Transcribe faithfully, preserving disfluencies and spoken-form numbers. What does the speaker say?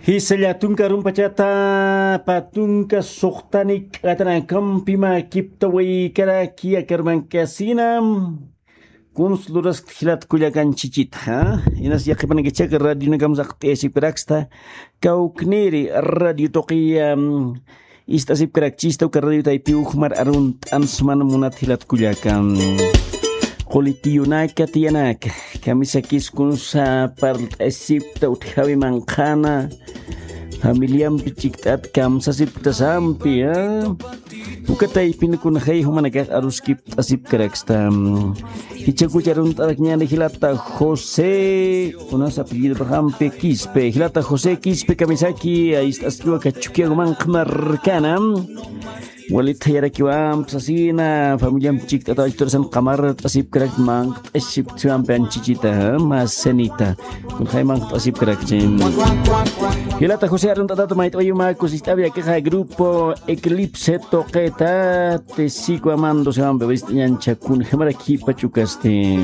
Jisalla tunka rumpachata, patunka suxtani k'atanakampi makipta waykaraki akarmankasina. Kuns luraskta jilat kullakan chichita, ¿ah? Inas yaqhipanakachaqa radionakam saqt'ayasipkaraksta, kawkniri radio tuqiya, mm, ist'asipkarakchista uka radio taypi ujmar arunt'ansman munat jilat kullakan. Qulitiyunaka tiyanaka, kamisakis kunsa parlt'asipta utjawi manqhana, familiampi chikt'at kamsasipktasampi, ¿ah? Uka taypin kunjay jumanakax aruskipt'asipkaraksta. Jichhakucha arunt'arakñäni jilata José, unas apellidopaxampi Quispe. Jilata José Quispe kamisaki, ist'askiwa Cachuquiago manqha markana. Walitha yarakiwamp sasina, familiamp chikt'ata wachtursan qamart'asipkarak manqt'asipktasampi anchichita, ¿ah? Masanita. Kunjay manqt'asipkarakchi. Jilata José arunt'atat mayt'awayumakus ist'awi akixa grupo Eclipse tuqita, tesikwa mando sewampi wist'añancha kunjamarak jipachukasti.